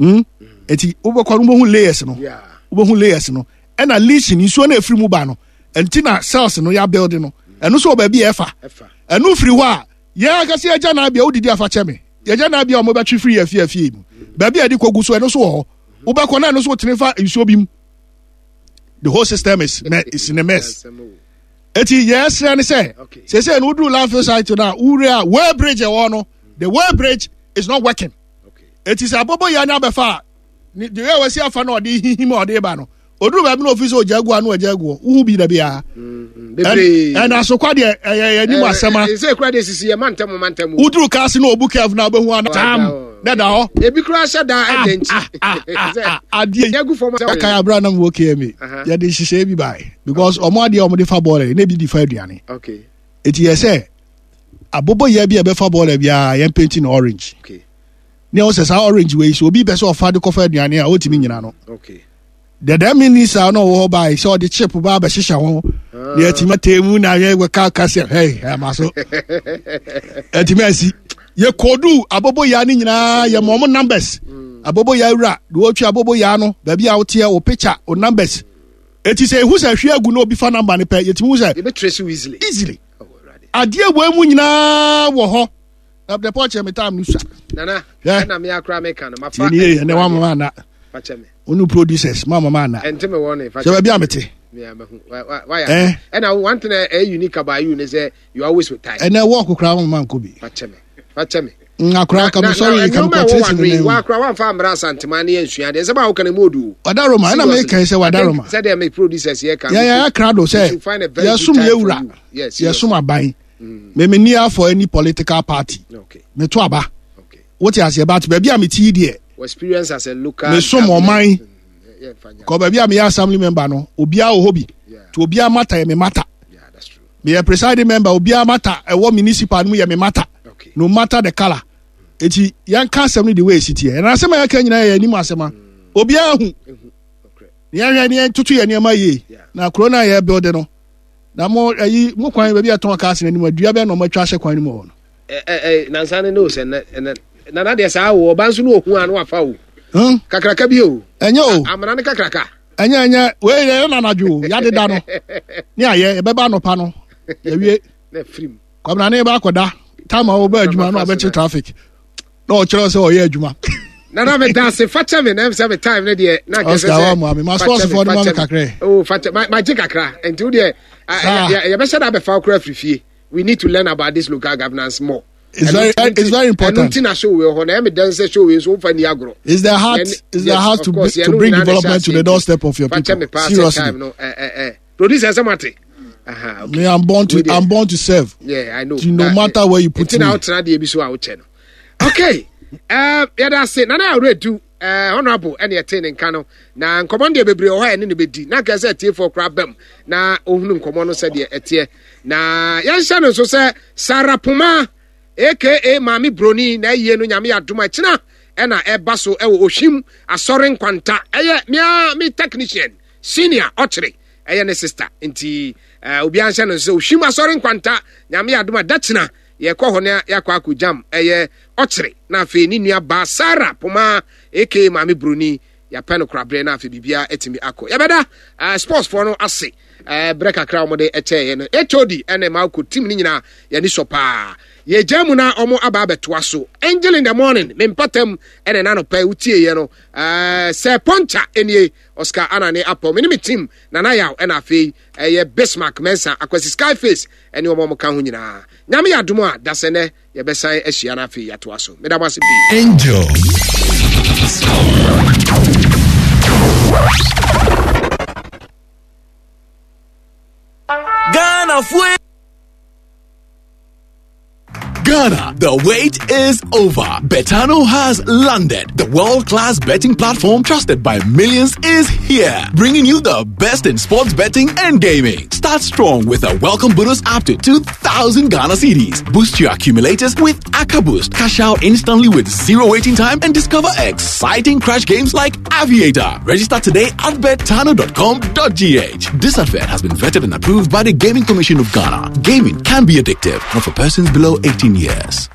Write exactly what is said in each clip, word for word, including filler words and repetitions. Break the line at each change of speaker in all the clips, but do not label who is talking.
Mm? Eti wobɛkɔ no wobɛhu layers no. Wobɛhu layers no. Ɛna leaching nsuo no efiri mu ba no. Ɛnti na cells no yɛ build no. Ɛno nso wɔ baabi a ɛfa. Ɛno firi hɔ a yɛn akɛse agya na abia wodidi afa kyɛ me. Yɛgya na abia wɔn bɛtwe firi yɛ fie fie mu. Baabi a yɛde kɔgu so ɛno nso wɔ hɔ. Wobɛkɔ na ɛno nso wotene fa nsuo bi mu. The whole system is me is in a mess. Eti yɛsrɛ ne sɛ sese no woduru landfill site no a wowura a way bridge ɛwɔ no the way bridge is not working. Eti sɛ abobo yɛ ne abɛfa a ne deɛ yɛ wɔsi afa na ɔde hihim a ɔde ba no oduru baabi na ofi sɛ ogya agu ano agya agu hɔ wohu bi da biara. Ɛna asokwa deɛ ɛyɛ yɛ anim asɛm a.
Ɛsɛ kura deɛ sisi yɛ mantam mantam.
Woduru kaase na obu kɛf na ɔbɛhu ana tam na da hɔ.
Ebi kura hyɛ da ɛdɛ nti.
Adeɛ yi ɛka abira nam wɔ K M A yɛde nhyehyɛ bi baa because ɔmo adeɛ ɔmo de fa bɔɔla na ebi di fa aduane. Eti yɛ sɛ aboboyɛ bi a ɛbɛfa bɔɔla biara yɛn paint no orange. Ne ɛwɔ sɛ saa orange wei so obi pɛ sɛ ɔfa de kɔfa aduane a ɔtumi nyina no. Dɛdɛ minista no ɔwɔ hɔ baa sɛ ɔde chip ba abɛhyehyɛ ho na yɛtumi atee mu na yɛ ka ka sɛ hɛi ɛma so ɛtumi asi yɛ kodu aboboyaa no nyinaa yɛ mɔ ɔmo numbers aboboyaa wura de wɔtwi aboboyaa no baabi a woteɛ wo picture wo numbers eti sɛ ehu sɛ hwie agu na obi fa number no pɛ yɛtumi hu sɛ
easily
easily adeɛ wɔ mu nyinaa wɔ hɔ na the pɔkyɛ mi time no sua.
Nana ɛna mi akora mi kan no ma fa.
Tiɛ ni yɛ ɛnɛ wa mama ana. Onu producers ma mama ana.
Ɛnti mi wɔ ne fa.
Sɛ baabi a mi te.
Waya ɛna one thing ɛyɛ unique about you ne sɛ you always with time.
Ɛnɛ wɔɔko koraa wɔn mama nko bi.
Fakyɛ mi fakyɛ mi.
Akora ka mi sɔre ka mi kɔ tiri sini
ne mu. Wakora wanfa amra Asantema ne yɛ nsua deɛ nsɛm a woka ne mu odu.
Wadaroma ɛna mi kan sɛ wadaroma.
Sɛdeɛ mi producers yɛ kan.
Yɛ yɛ akra do sɛ yɛ sum yɛ wura yɛ sum aban. Me me ni for any political party. Me to aba. Wote aseɛ but baabi a me ti yi deɛ.
Experience as a local.
Me som ɔman. Kɔ baabi a meyɛ assembly member no obiara wɔ hɔ bi. To obiara matter yɛ me matter. Meyɛ presiding member obiara matter ɛwɔ municipal no mu yɛ me matter. No matter the colour. Eti yɛn ka asɛm no the way esi teɛ. Ɛna asɛm a yɛka nyinaa yɛ anim asɛm a obiara hu. Yɛn hwɛ ne yɛn toto yɛn nneɛma yie. Na kuro no a yɛ build no na mo ayi mo kwan baabi a ɛtɔn cars no anim adua bɛn na ɔmo atwa ahyɛ kwan no mu hɔ no.
Ɛ ɛ nansa ne ne o sɛ nɛ nɛ nana deɛ saa o ɔba nso ne ohun ano afa o. Kakraka bi o.
Ɛnyɛ o.
Amena ne kakraka.
Ɛnyɛ ɛnyɛ wei yɛ na anadwo o yadeda no ne ayɛ yɛbɛba anɔpa no yɛwie.
Na firim.
Kwamina ne ba akɔda time a wɔbɛ adwuma no abɛkye traffic na ɔkyerɛ sɛ ɔyɛ adwuma.
Nana me da ase fakyɛ me na sɛ me time ne deɛ na nkɛsɛ
sɛ Oscar wa mu ami ma sports fo no ma me kakra.
Oh, fakyɛ ma ma gye kakra nti wo deɛ yɛbɛhyɛ da abɛfa okura afiri fie. We need to learn about this local governance more.
It's very, it's very important.
Ɛnu ti na show wei hɔ na ɛmi dɛn sɛ show wei nso nfa ni agorɔ.
It's the heart, it's the heart to, be, to bring development to the doorstep of your people. Seriously.
Time no, eh, eh, eh. Producer sɛ mate.
Uh-huh, okay. Me, I'm born to, I'm born to serve.
Yeah, I know.
No that, matter where you put me.
Nti na wotena deɛ bi so a wokyɛ no. Okay. Uh, yɛda ase nana awura uh, honorable ɛne ɛte ne nka no na nkɔmmɔ no deɛ bebree wɔ hɔ a ɛne ne bɛdi na nka sɛ atiefoɔ koraa bam na ɔhunu nkɔmmɔ no sɛdeɛ ɛteɛ na yɛnhyɛ no nso sɛ Sara Poma aka Maame Broni na ayie no Nyame adom akyina ɛna ɛba so ɛwɔ Ohwim Asɔre Nkwanta. Ɛyɛ mea me technician senior ɔkyere ɛyɛ ne sister nti uh, obiara nhyɛ no nso sɛ Ohwim Asɔre Nkwanta Nyame adom a dakyina yɛkɔ hɔ na yɛakɔ akɔ jam ɛyɛ ɔkyere na afei ne nua baa Sarah Poma aka Maame Broni yɛapɛ no koraberɛ na afei biribiara atumi akɔ. Yɛbɛda uh, sports foɔ no ase uh, berɛ kakra wɔde ɛkyɛeɛ no H O D ɛne Malco team no nyinaa yɛni sɔ paa. Yɛgya mu na ɔmo aba abɛtoa so. Angel in the Morning me mpatam ɛne nanɔpɛ wotieɛ no uh, sɛ pɔnkya ɛnie Oscar Anane Apɔ me ne me team Nana Yaw ɛna afei ɛyɛ Bismarck Mensa Akwasi Skyface ɛne ɔmo ɔmo ka ho nyinaa. Nyame yɛ adom a dasɛ nɛ yɛbɛsan ahyia no afei yɛatoa so. Meda mo ase pii.
Angel.
Ghana fue.
Ghana, the wait is over. Betano has landed. The world-class betting platform trusted by millions is here, bringing you the best in sports betting and gaming. Start strong with a welcome bonus up to two thousand Ghana cedis. Boost your accumulators with AkaBoost. Cash out instantly with zero waiting time and discover exciting crash games like Aviator. Register today at betano dot com dot G H. This advert has been vetted and approved by the Gaming Commission of Ghana. Gaming can be addictive, not for persons below eighteen years.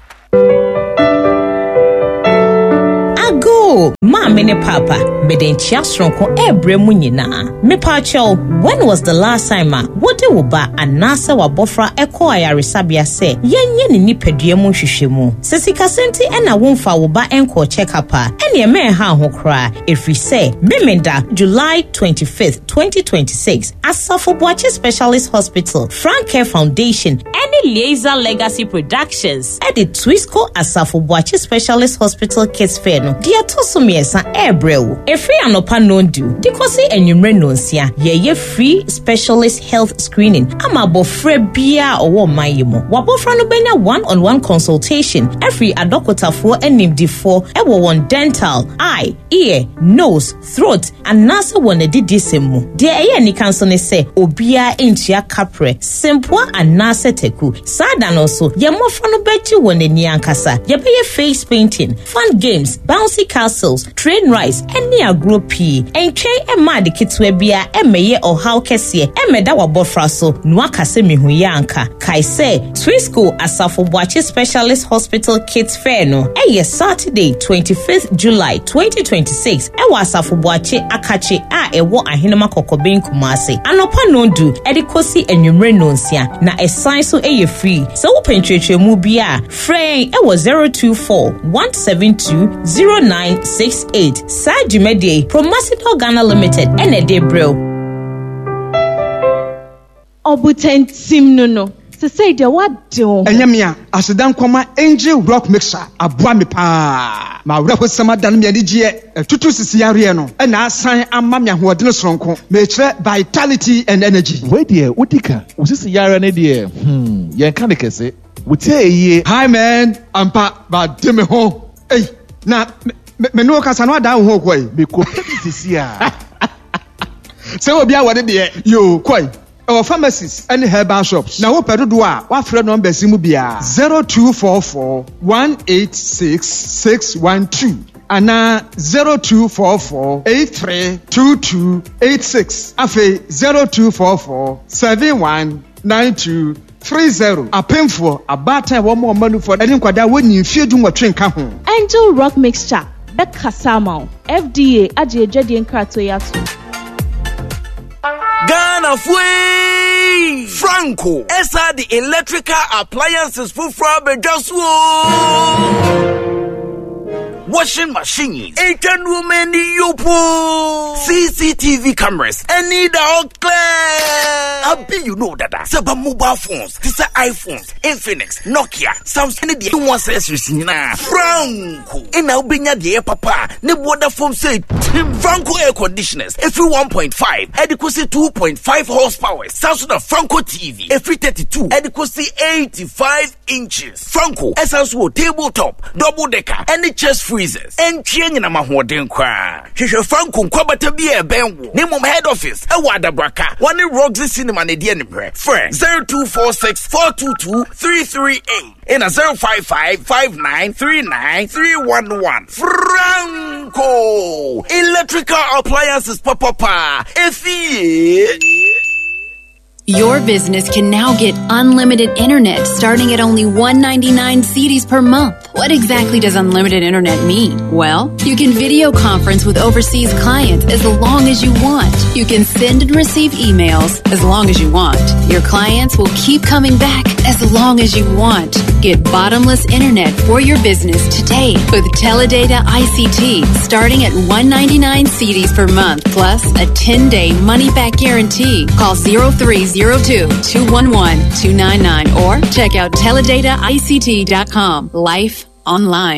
Ago
Akoo, maame ne papa, mede nkyia soronko ɛrebrɛ mu nyinaa. Mepaakyɛw, when was the last time a wode wo ba anaasɛ wabɔfra ɛkɔɔ ayaresabea sɛ yɛnyɛ ne nipadua mu nhwehwɛmu? Sɛ sikasɛm nti ɛna womfa wo ba ɛnkɔɔ check-up a, ɛneɛ mɛnha ho koraa, ɛfiri sɛ Memenda July twenty-fifth, twenty twenty-six, Asafo Boakye Specialist Hospital, Frank Care Foundation ɛne Liaison Legacy Productions ɛde Twisco Asafo Boakye Specialist Hospital Kids Fair no deɛ ɛtɔ so mmiɛnsa ɛrebrɛ wo. Ɛfiri anɔpa nondu de kɔsi anwummerɛ nonsia, yɛyɛ free specialist health screening ama abɔfra biara a ɔwɔ ɔman yi mu. Wabɔfra no bɛnya one on one consultation ɛfiri adɔkotafoɔ animdifoɔ ɛwɔ wɔn dental, eye, ear, nose, throat anaasɛ wɔn adidisɛm mu. Deɛ ɛyɛ anika nso ne sɛ obiara ntua kaprɛ, sempoa anaasɛ taku. Saa da no nso, yɛn mmɔfra no bɛgye wɔn ani ankasa. Yɛbɛyɛ face painting, fun games, bouncy castles, train rides ɛne agorɔ pii. Ntwɛn ɛma ade ketewa biara ɛmɛyɛ ɔhaw kɛseɛ ɛmɛda wabɔfra so na waka sɛ mehu yɛ anka. Kae sɛ Twisco Asafo Boakye Specialist Hospital Kids Fair no ɛyɛ Saturday twenty-fifth July twenty twenty-six ɛwɔ Asafo Boakye Akakye a ɛwɔ Ahenema Kɔkɔbɛn, Kumase, anɔpa nondu ɛde kɔsi anwummerɛ nonsia, na ɛsan so ɛyɛ free. Sɛ wopɛ nkyerɛkyerɛmu bi a, frɛ yɛn ɛwɔ zero two four, one seven two zero nine six eight. Saa dwumadie yi, Promasidor Ghana Limited ɛna ɛde brɛ wo.
Ɔbotantim no no sesei deɛ woade wo ho.
Ɛnyɛ me a aseda nkɔma Angel Rock Mixer aboa me paa ma awerɛhosɛm adane me anigyeɛ, ɛtutu sisi yareɛ no ɛna asan ama me ahoɔdene soronko, mekyerɛ vitality and energy.
Wei deɛ, wodi ka wo sisi yareɛ no deɛ, hmm, yɛnka ne kɛse wotie yie.
Hi man, ampa bade me ho. Ei, na me me ne wo kasa no adan wo ho kɔe.
Mekɔpɛ bi sisi a.
Sɛ obi a wɔde deɛ yo kɔe, ɛwɔ pharmacies ne herbal shops, na wopɛ dodoɔ a, woafrɛ numbers yi mu biara: zero two four four one eight six six one two anaa zero two four four eight three two two eight six, afei zero two four four seven one nine two three zero. Apemfoɔ, abaatan a wɔn a ɔma nufoɔ ne nkwadaa wɔnyi mfie du nwɔtwe nka ho.
Angel Rock Mixture bɛkasa ama wo. F D A agye adwadie nkratoɔ yi ato.
Ghana fue! Franco ɛsa de electrical appliances foforɔ abɛdwa so o. Washing machines, etwa nneɛma ani yopo, C C T V cameras, ɛne da hɔ clear. Abi you know dada sɛ ba mobile phones te sɛ iPhones, Infinix, Nokia, Samsung ne deɛ ho accessories nyinaa, Franco ɛna wobɛnya deɛ ɛyɛ papa a ne boɔda fam sɛ tim. Franco air conditioners ɛfiri one point five ɛde kɔsi two point five horsepower. Saa so na Franco T V ɛfiri thirty-two ɛde kɔsi eighty-five inches. Franco ɛsan so wɔ table top, double decker ɛne chest freezers. Ɛntwie nyinam ahoɔden koraa. Hwehwɛ Franco nkwabata bi a ɛbɛn wo, ne mmom head office ɛwɔ Adabraka, wɔne Roxy Cinema ne deɛ nimrɛ. Frɛ zero two four six four two two three three eight ɛna zero five five five nine three nine three one one. Franco electrical appliances papapa efie.
Your business can now get unlimited internet starting at only one hundred ninety-nine cedis per month. What exactly does unlimited internet mean? Well, you can video conference with overseas clients as long as you want. You can send and receive emails as long as you want. Your clients will keep coming back as long as you want. Get bottomless internet for your business today with Teledata I C T starting at one hundred ninety-nine cedis per month plus a ten-day money-back guarantee. Call zero three zero two two one one two nine nine or check out teledata I C T dot com. Life online.